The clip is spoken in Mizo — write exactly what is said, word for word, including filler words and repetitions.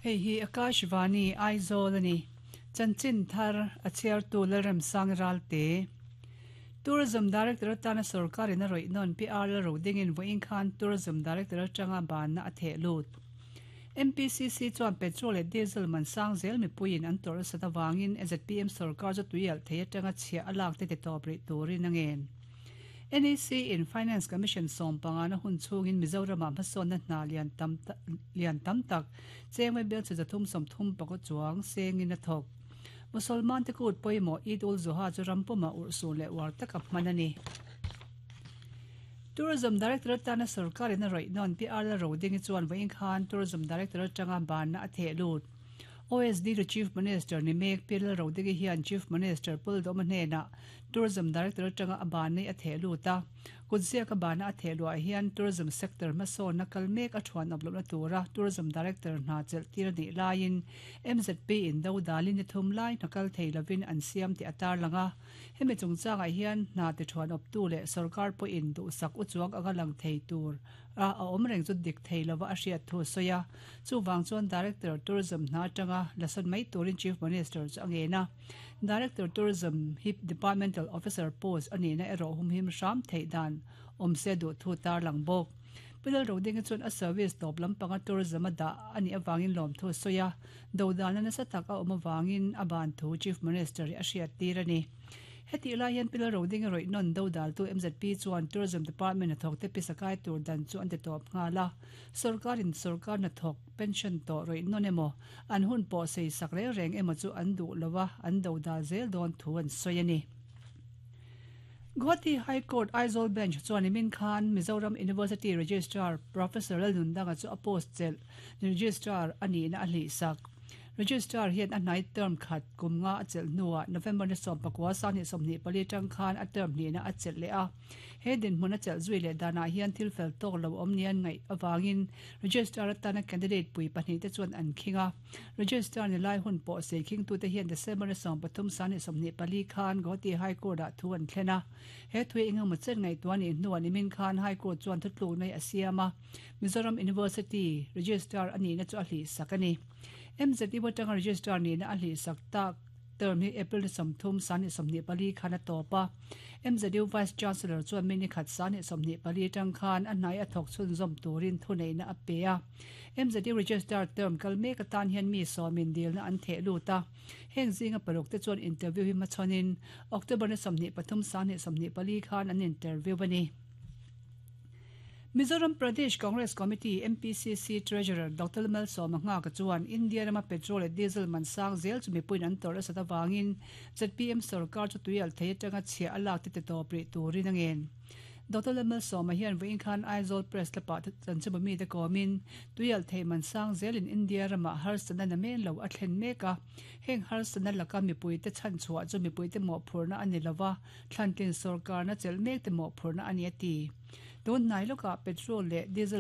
Hei hi Akashvani Aizawl ani. Chanchin thar a chhiartu Lalremsang Ralte. Tourism Director atana sarkarin a rawih nawn P R Lalrodingin vawiin khan Tourism Director atanga banna a theh lut. M P C C chuan petrol leh diesel man sang zel mipuiin an tawrh nasat avangin Z P M sarkar chu tuialh thei atanga chhiah a lak te ti tawp rih turin a ngen. N E C in Finance Commission sawm panga na hun chhungin Mizoramah hmasawnna hna lian tam lian tam tak chengmai bel chu zathum sawmthum pakua chuang sengin a thawk. Musalman te kut pawimawh Eid ul Zuha chu rampumah urhsun leh uar taka hman a ni. Tourism Director atana sarkarin a rawih nawn P R Lalrodingi chuan vawiin khan Tourism Director atanga banna a theh lut. O S D to Chief Minister ni mek P Lalrodingi hian Chief Minister Puldawma hnenah Tourism Director atanga a bannei a theh lut a. Kutziaka banna a theh luah hian Tourism sector hmasawnna kal mek a thuan awp lohna tura Tourism Director hna chelh tir a nih laiin M Z P in do dalin ni thum lai hna kal thei lovin an siam tih a tar lang a. Hemi chungchangah hian hna ti thuan awptu leh sarkar pawhin duhsak uchuak anga lang thei tur a a awm reng chu dik thei lova a hriat thu sawi a. Chuvang chuan Director Tourism hna atanga lasawn mai turin Chief Minister chu a ngen a. Director Tourism hi Departmental Officer post a nihna erawh humhim hram theih dan awm se duh thu tar lang bawk. Pilal Rodinga chuan a service tawp lampanga tourism a dah a nih avangin lawm thu sawi a. Do dana nasa tak a awm avangin a ban thu Chief Minister hi a hriat tir a ni. Heti lai hian Pilal Rodinga rawih nawn do daltu M Z P chuan Tourism Department a thawk te pisakai tur dan chu an ti tawp nghal a. Sarkarin sarkar na thawk pension tawh rawih nawn emaw an hun pawh sei sak reng reng emaw chu an duh lova an do dal zel dawn thu an sawi a ni. Guwahati High Court Aizawl Bench chuan Imin Khan Mizoram University Registrar Professor Lalnundanga chu a post chelh Registrar a nihna a hlih sak. Registrar hian a hnai term khat kum nga a chelh hnuah November ni sawm pakua sang hnih sawmhnih pali tang khan a term hnihna a chelh leh a. He dinhmun a chelh zui leh danah hian thil fel tawk lo awm nian ngaih awangin Registrar atana candidate pui pahnih te chuan an khing a. Registrar ni lai hun pawh sei khing tu te hian December ni sawm pathum sang hnih sawmhnih pali khan Guwahati High Court ah thu an thlen a. He thui engemaw chen ngaihtuah nih hnuah Nimin Khan High Court chuan thutluk nei a siam a. Mizoram University Registrar a nihna chu a hlih sak a ni. M Z U atanga Registrar nihna a hlih sak tak term hi April ni sawmthum sang hnih sawmhnih pali khan a tawp a. M Z U Vice Chancellor chuan mi ni khat sang hnih sawmhnih pali tang khan a hnai a thawk chhunzawm turin thu neihna a pe a. M Z U Registrar term kal mek atan hian mi sawmin dilna an theh lut a. Heng zinga paruk te chuan interview hi hmachhawnin October ni sawmhnih pathum sang hnih sawmhnih pali khan an interview a ni. Mizoram Pradesh Congress Committee M P C C Treasurer Doctor Malsawma Nghaka chuan India rama petrol leh diesel man sang zel chu mipuiin an tawrh nasat avangin Z P M sarkar chu tuialh thei atanga chhiah a lak te ti tawp rih turin a ngen. Doctor Malsawma hian vawiin khan Aizawl Press Club-ah chanchinbu mite kawmin tuialh thei man sang zelin India rama harsatna na men lo a thlen mek a. Heng harsatna laka mipuite chhan chhuah chu mipuite mawhphurhna a ni lova, thlantlin sarkarna chelh mek te mawhphurhna a ni a ti. Tun hnai lawkah petrol leh diesel